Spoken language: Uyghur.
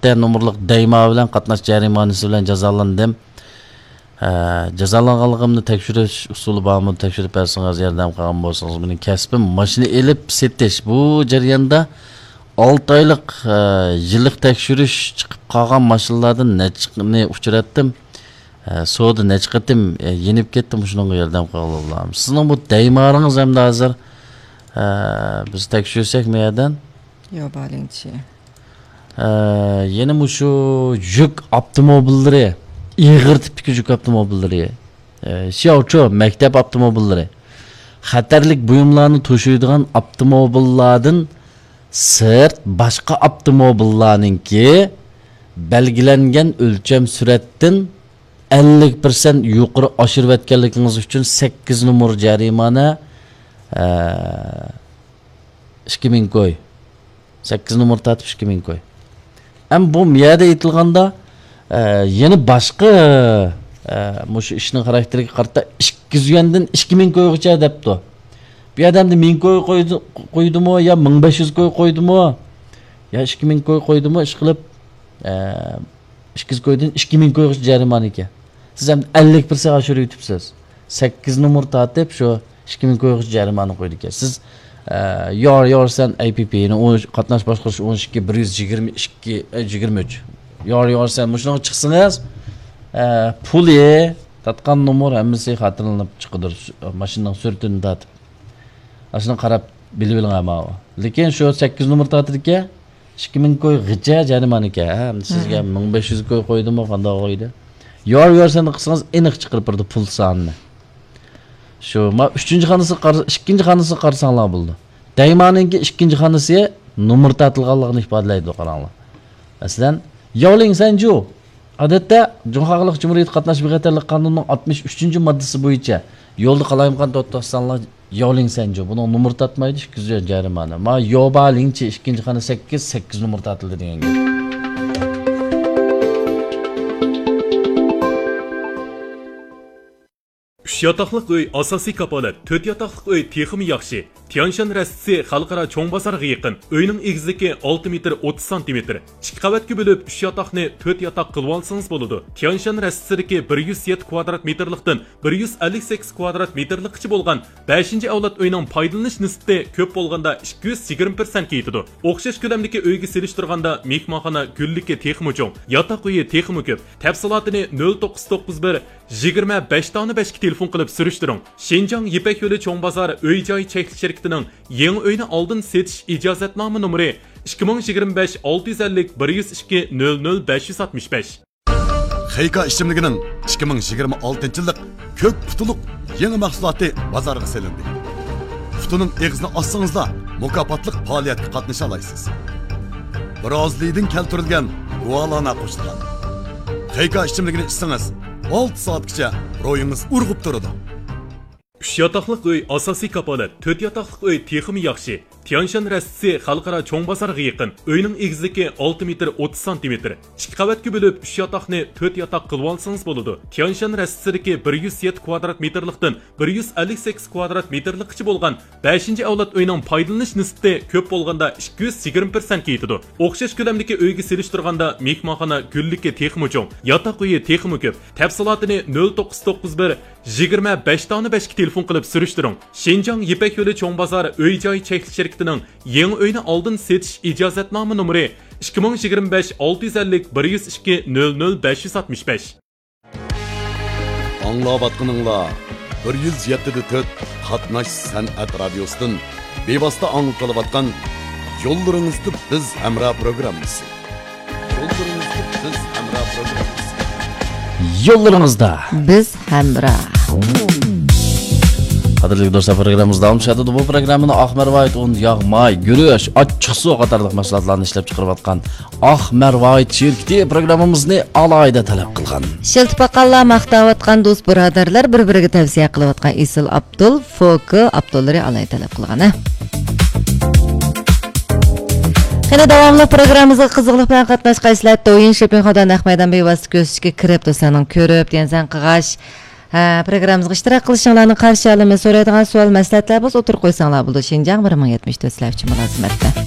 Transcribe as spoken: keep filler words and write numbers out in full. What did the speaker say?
تۆتتە نومۇرلۇق دەيما بىلەن قاتناش جەرىمانىسى بىلەن جازالاندىم. ئە، جازالانغانلىقىمنى تەكشۈرۈش ئۇسۇلى بارمۇ؟ تەكشۈرۈپ بەرسىڭىز، ياردەم قىلغان بولسىڭىز. مېنىڭ كەسپىم ماشىنا ئېلىپ سېتىش. بۇ جەرياندا ئالتە ئايلىق، ئە، يىللىق تەكشۈرۈش چىقىپ قالغان ماشىنىلاردىن نەچچىنى ئۇچراتتىم. ئە، سودا نەچچە قېتىم، ئە، يېنىپ كەتتىم، شۇنىڭغا ياردەم قىلغىلى بولامدۇ؟ سىزنىڭ بۇ دەيمارىڭىز ئەمدى ھازىر، ئە، بىز تەكشۈرسەك مۇ يەردىن؟ يوبالىڭچى. ئە، يەنە مۇشۇ يۈك ئاپتوموبىللىرى، ئېغىر تىپتىكى يۈك ئاپتوموبىللىرى، ئە، شياۋچۇ مەكتەپ ئاپتوموبىللىرى، خەتەرلىك بۇيۇملارنى توشۇيدىغان ئاپتوموبىللاردىن سىرت باشقا ئاپتوموبىللارنىڭكى بەلگىلەنگەن ئۆلچەم سۈرئەتتىن ئەللىك پىرسەنت يۇقىرى ئاشۇرۇۋەتكەنلىكىڭىز ئۈچۈن سەككىز نومۇر جەرىمانە، ئە، ئىككى مىڭ كوي. سەككىز نومۇر تارتىپ ئىككى مىڭ كوي. ئەمما بۇ يەردە ئېيتىلغاندا، ئە، يەنە باشقا، ئە، مۇشۇ ئىشنىڭ خاراكتېرىگە قارىتا ئىككى يۈز يۈەندىن ئىككى مىڭ كويغىچە دەپتۇ. بۇ يەردە ئەمدى مىڭ كوي قويدى-، قويدىمۇ يا مىڭ بەش يۈز كوي قويدىمۇ يا ئىككى مىڭ كوي قويدىمۇ، ئىشقىلىپ، ئە، ئىككى يۈز كويدىن ئىككى مىڭ كويغىچە جەرىمانە ئىكەن. سىز ئەمدى ئەللىك پىرسەنت ئاشۇرۇۋېتىپسىز. سەككىز نومۇر تارتىپ شۇ ئىككى مىڭ كويغىچە جەرىمانە قويىدىكەن. سىز، ئە، يار يارسەن ئەي پى پى نى ئون، قاتناش باشقۇرۇش ئون ئىككى، بىر يۈز يىگىرمە ئىككى، ئە، يىگىرمە ئۈچ. يار يارسەن مۇشۇنىڭغا چىقسىڭىز، ئە، پۇلى، تارتقان نومۇر ھەممىسى خاتىرىلىنىپ چىقىدۇ. ماشىنىنىڭ سۈرىتىنى تارتىپ. ئاشۇنى قاراپ بىلىۋېلىڭ ئەمما. لېكىن شۇ سەككىز نومۇر تارتىدىكەن، ئىككى مىڭ كويغىچە جەرىمانە ئىكەن. ھە، ئەمدى سىزگە مىڭ بەش يۈز كوي قويدىمۇ، قانداق قويدى؟ يار يارسەن قىلسىڭىز ئېنىق چىقىرىپ بېرىدۇ پۇل سانىنى. شۇ، ما ئۈچىنچى خانىسىغا قارا-، ئىككىنچى خانىسىغا قارىساڭلار بولىدۇ. دەيمانىڭكى ئىككىنچى خانىسى نومۇر تارتىلغانلىقىنى ئىپادىلەيدۇ، قاراڭلار. مەسىلەن، ياۋلىڭ سەنجۇ. ئادەتتە، جۇڭخۇا خەلق جۇمھۇرىيىتى قاتناش بىخەتەرلىك قانۇنىنىڭ ئاتمىش ئۈچىنچى ماددىسى بويىچە يولدا قالايمىقان توختاتساڭلار، ياۋلىڭ سەنجۇ. بۇنىڭ نومۇرى تارتمايدۇ، ئىككى يۈز يۈەن جەرىمانە. ما يوبا لىڭچى ئىككىنچى خانا سەككىز، سەككىز نومۇر تارتىلدى دېگەن گەپ. ئۈچ ياتاقلىق ئۆي ئاساسىي كاپالەت، تۆت ياتاقلىق ئۆي تېخىمۇ ياخشى. تيانشان رەستىسى خەلقئارا چوڭ بازارغا يېقىن. ئۆينىڭ ئېگىزلىكى ئالتە مېتىر ئوتتۇز سانتىمېتىر. ئىككى قەۋەتكە بۆلۈپ، ئۈچ ياتاقنى تۆت ياتاق قىلىۋالسىڭىز بولىدۇ. تيانشان رەستىسىدىكى بىر يۈز يەتتە كۋادرات مېتىرلىقتىن بىر يۈز ئەللىك سەككىز كۋادرات مېتىرلىققىچە بولغان بەشىنچى ئەۋلاد ئۆينىڭ پايدىلىنىش نىسبىتى كۆپ بولغاندا ئىككى يۈز يىگىرمە پىرسەنتكە يېتىدۇ. ئوخشاش كۆلەمدىكى ئۆيگە سېلىشتۇرغاندا مېھمانخانا گۈللۈكى تېخىمۇ چوڭ، ياتاق ئۆيى تېخىمۇ كۆپ. تەپسىلاتىنى نۆل توققۇز توققۇز بىر، يىگىرمە بەش دانە بەشكە تېلېفون قىلىپ سۈرۈشتۈرۈڭ. شىنجاڭ يىپەك يولى چوڭ بازار ئۆي جاي چەكلىك شىركىتىنىڭ يېڭى ئۆينى ئالدىن سېتىش ئىجازەتنامە نومۇرى ئىككى مىڭ يىگىرمە بەش ئالتە يۈز ئەللىك بىر يۈز ئىككى نۆل نۆل بەش يۈز ئاتمىش بەش. خېيكا ئىچىملىكىنىڭ ئىككى مىڭ يىگىرمە ئالتىنچى يىللىق كۆك پۇتىلىق يېڭى مەھسۇلاتى بازارغا سېلىندى. پۇتىنىڭ ئېغىزىنى ئاچسىڭىزلا، مۇكاپاتلىق پائالىيەتكە قاتنىشالايسىز. برازىلىيىدىن كەلتۈرۈلگەن گۇالانا قوشۇلغان. خېيكا ئىچىملىكىنى ئىچسىڭىز، ئالتە سائەتكىچە روھىڭىز ئۇرغۇپ تۇرىدۇ. ئۈچ ياتاقلىق ئۆي ئاساسىي كاپالەت، تۆت ياتاقلىق ئۆي تېخىمۇ ياخشى. تيانشان رەستىسى خەلقئارا چوڭ بازارغا يېقىن. ئۆينىڭ ئېگىزلىكى ئالتە مېتىر ئوتتۇز سانتىمېتىر. ئىككى قەۋەتكە بۆلۈپ، ئۈچ ياتاقنى تۆت ياتاق قىلىۋالسىڭىز بولىدۇ. تيانشان رەستىسىدىكى بىر يۈز يەتتە كۋادرات مېتىرلىقتىن بىر يۈز ئەللىك سەككىز كۋادرات مېتىرلىققىچە بولغان بەشىنچى ئەۋلاد ئۆينىڭ پايدىلىنىش نىسبىتى كۆپ بولغاندا ئىككى يۈز يىگىرمە پىرسەنتكە يېتىدۇ. ئوخشاش كۆلەمدىكى ئۆيگە سېلىشتۇرغاندا مېھمانخانا گۈللۈكى تېخىمۇ چوڭ، ياتاق ئۆيى تېخىمۇ كۆپ. تەپسىلاتىنى نۆل توققۇز توققۇز بىر، يىگىرمە بەش دانە بەشكە تېلېفون قىلىپ سۈرۈشتۈرۈڭ. شىنجاڭ يىپەك يولى چوڭ بازار ئۆي جاي چەكلىك شىركىتىنىڭ يېڭى ئۆينى ئالدىن سېتىش ئىجازەتنامە نومۇرى ئىككى مىڭ يىگىرمە بەش ئالتە يۈز ئەللىك بىر يۈز ئىككى نۆل نۆل بەش يۈز ئاتمىش بەش. ئاڭلاۋاتقىنىڭلار بىر يۈز يەتتە دە تۆت قاتناش سەنئەت رادىيوسىدىن بىۋاسىتە ئاڭلىتىلىۋاتقان يوللىرىڭىزدا بىز ھەمراھ پروگراممىسى. يوللىرىڭىزدا بىز ھەمراھ پروگراممىسى. يوللىرىڭىزدا بىز ھەمراھ. قەدىرلىك دوستلار، پروگراممىمىز داۋاملىشىۋاتىدۇ. بۇ پروگراممىنى ئاق مەرۋايىت ئۇن، ياغ، ماي، گۈرۈچ، ئاچچىقسۇ قاتارلىق مەھسۇلاتلارنى ئىشلەپ چىقىرىۋاتقان ئاق مەرۋايىت شىركىتى پروگراممىمىزنى ئالاھىدە تەلەپ قىلغان. شىلتە باققانلار، ماختاۋاتقان دوست بۇرادەرلەر، بىر-بىرىگە تەۋسىيە قىلىۋاتقان ئېسىل ئابدۇل، فوكو ئابدۇللىرى ئالاھىدە تەلەپ قىلغان، ھە؟ قېنى، داۋاملىق پروگراممىمىزغا قىزغىنلىق بىلەن قاتناشقايسىلەر. دويىن شېپىڭ خادا نەق مەيدان بىۋاسىتە كۆرسىتىشكە كىرىپ، دوستلارنىڭ كۆرۈپ، دىيەنسەن قىغاش، ھە، پروگراممىمىزغا ئىشتىراك قىلىشىڭلارنى قارشى ئالىمىز. سورايدىغان سوئال، مەسلىھەتلەر بولسا ئوتتۇرىغا قويساڭلار بولىدۇ. شىنجاڭ بىر مىڭ يەتمىش تۆت سىلەر ئۈچۈن مۇلازىمەتتە.